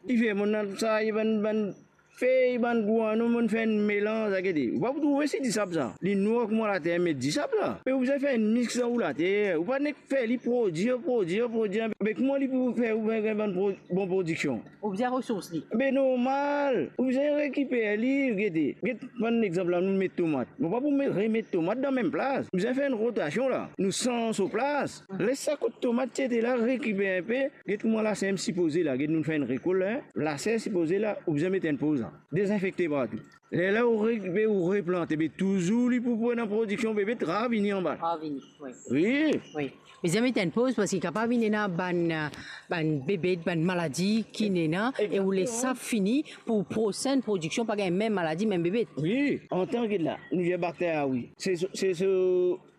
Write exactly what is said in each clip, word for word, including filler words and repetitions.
Difer, monn al sarye bann, bann fey, bann gwanon, monn fer enn melanz, a gete. Ou pa pou trouve si disab sa. Li nwar kouma later met disab la. Me ou bizin fer enn mix dan ou later. Ou pa nek fer li prodir, prodir, prodir. Me kouma li pou fer ou gagn bann pro-, bon prodiksion? Ou bizin resours li. Be normal, ou bizin rekiper li, gete. Get bann exanp la, nou met tomat. Mo pa pou met, remet tomat dan mem plas. Nou bizin fer enn rotasion la. Nou sanz so plas. Les sa kot tomat ti ete la, rekiper inpe. Get kouma laser sipoze la, get nou fer enn rekol la, en. Laser sipoze la, ou bizin met enn poz la. Dezinfekte partou. Lerla ou re-, be ou replante, be touzour li pou pran prodiksion, be, be ravini anba. Ravini, wi. Wi. Wi. Bizin met enn poz parski kapav vinn ena bann, bann bebet, bann maladi ki ena, e ou les sa fini pou prosenn prodiksion pa gagn mem maladi, mem bebet. Wi, antan ki la, nou dir bakter, a wi. Se, se, se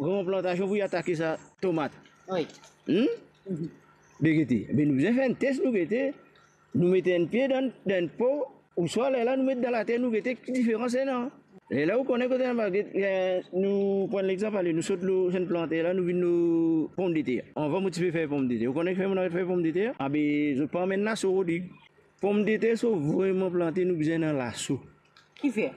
gran plantasion pou atake sa tomat. Wi. Hmm? Mhm. Be gete, be nou bizin fer enn tes, nou gete, nou met enn pie dan, dan enn po, ouswa lerla nou met dan later, nou gete ki diferans ena. Lerla ou kone kot ena, get, eh, nou pran lexanp, ale, nou sot lor enn planter la, nou vinn lor pomdeter. Anvan mo ti pe fer pomdeter. Ou kone kifer mo ti pe fer pomdeter? Abe, zot pa amenn laso, Rodig. Pomdeter so vreman plante, nou bizin ena laso. Kifer?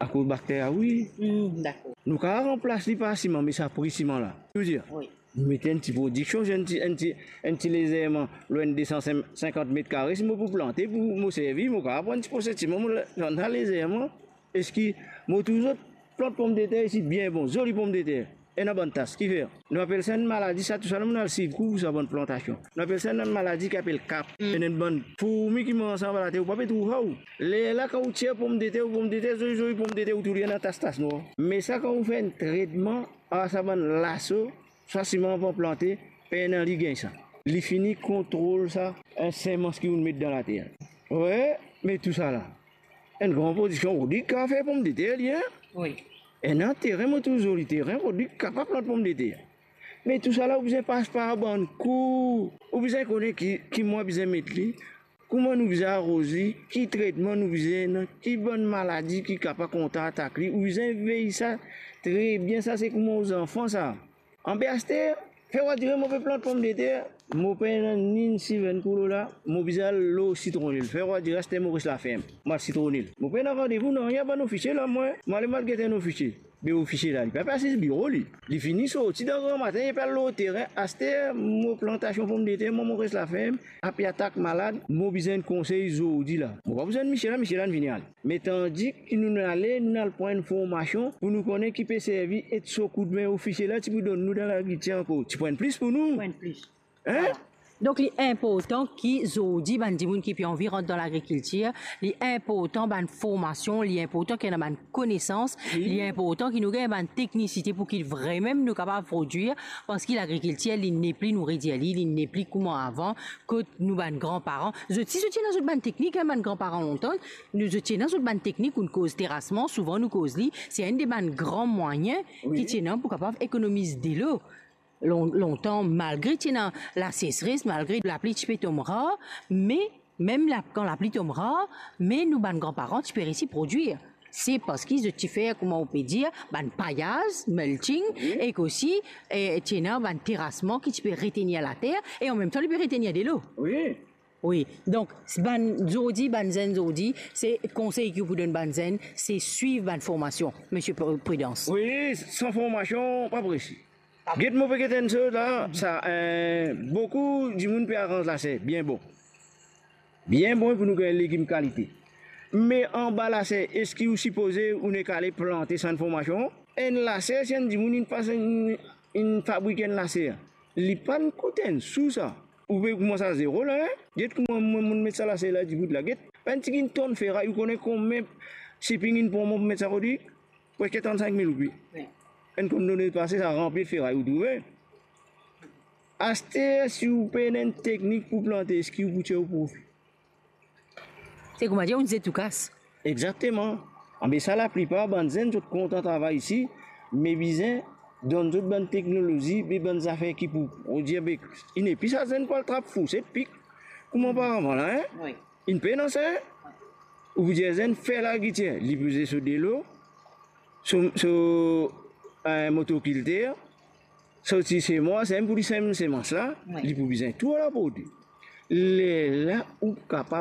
Akoz bakter, a wi. Hmm, dakor. Nou kapav ranplas li par siman, me sa pri siman la. Ou dir? Wi. Nou met enn ti prodiksion, enn ti, enn ti, enn ti lezerman, lor enn de san sinkant met kare, si mo pou plante, pou mo servi, mo kapav pran ti pose siman, mo la, la, lezerman. Eski mo touzour plant pomdeter isi, bien bon, zoli pomdeter. Ena bann tas, kifer? Nou apel sa enn maladi, sa tousala, nou al swiv kour pou sa bann plantasion. Nou apel sa enn maladi ki apel kap. Mm. Ena enn bann fourmi ki manz sa anba later, ou pa pe trouv sa ou. Lerla kan ou tir pomdeter, ou pomdeter, zoli, zoli pomdeter, ou trouv li ena tas, tas nwar. Me sa kan ou fer enn tretman, a sa bann laso, sa siman avan plante, pena li gagn sa. Li fini kontrol sa, enn semans ki ou met dan later. Wi, me tousala. Enn gran prodiksion, Rodig kapav fer pomdeter li, en? Wi. Ena teren, mo trouv zoli teren, Rodig kapav plant pomdeter. Me tousala, ou bizin pas par bann kour. Ou bizin kone ki, ki mwa bizin met li, kouma nou bizin aroz li, ki tretman nou bizin ena, ki bann maladi ki kapav kontratak li. Ou bizin vey sa tre bien, sa se kouma ou zanfan sa. Anbe aster, fer wadire mo pe plant pomdeter, mo pena ni enn sivenn koulor la, mo bizin al lor sitronil. Fer wadire aster mo res laferm, mo al sitronil. Mo pena randevou nanye ar bann ofisie la, mwa. Mo ale, mo al get enn ofisie. Be ofisie la, li pa pe asiz biro li. Li fini sorti dan gramatin, li pe al lor teren. Aster, mo plantasion pomdeter, mwa, mo res laferm, ape atak malad, mo bizin enn konsey zordi la. Mo pa bizin misie la, misie la inn vini ale. Me tandi ki nou ale, nou al pran enn formasion pou nou kone ki pe servi, et so koudme ofisie la ti pou donn nou dan lagrikiltir ankor. Ti pou enn plis pou nou. Pou enn plis. En? Vwala. Donk, li inportan ki zordi bann dimoun ki pe anvi rant dan lagrikiltir, li inportan bann formasion, li inportan ki ena bann konesans, wi, li inportan ki nou gagn bann teknisite pou ki vremem nou kapav prodwir, parski lagrikiltir, li nepli, nou redir li, li nepli kouma avan, kot nou bann granparan. Zot si, zot ti ena zot bann teknik, en, bann granparan lontan, nou, zot ti ena zot bann teknik, ou'nn koz terasman, souvan nou koz li, se enn de bann gran mwayin, wi, ki ti ena pou kapav ekonomiz delo. Lon-, lontan, malgre ti ena lasesres, malgre lapli ti pe tom rar, me mem la, kan lapli tom rar, me nou bann granparan ti pe resi prodwir. Se parski zot ti fer, kouma ou pe dir, bann payaz, mulching, wi, ek osi, eh, ti ena bann terasman ki ti pe retenir later, e anmemtan li pe retenir delo. Wi. Wi, donk, bann zordi, bann zenn zordi, se konsey ki ou pou donn bann zenn, se swiv bann formasion, Misie Pr-, Prudence. Wi, san formasion, pa prese. Get, mo pe get enn soz la, sa, eh, boukou dimoun pe aranz laser, bien bon. Bien bon pou nou gagn legim kalite. Me anba laser, eski ou sipoze ou nek ale plante san formasion? Enn laser, si enn dimoun inn pas, inn, inn fabrik enn laser, li pa'nn kout enn sou sa. Ou pe koumans a zero la, en? Get kouma mwa, mo'nn met sa laser la dibout la. Get, bann tigit tonn feray, ou kone konbien shipping inn pran mwa pou met sa, Rodig? Preske trannsink mil roupi. Wi. Enn konn lane pase, sa ranpli feray, ou trouve? Aster, si ou pena enn teknik pou plante, eski ou pou tir ou profi? Se kouma dir, ou zet ou kas. Exakteman. Anbe sa, laplipar bann zenn, zot kontan travay isi, me bizin donn zot bann teknolozi, be bann zafer ki pou, pou dir, be, inn nepli sa zenn pou al trap fourset, pik, kouma oparavan la, en? Wi. Inn pena sa, en? Ou pou dir zenn fer lagrikiltir, li pou bizin so delo, so, so, eh, motokulter, sorti semans, sem pou li sem semans la, wi, li pou bizin tou al aport. Lerla ou kapav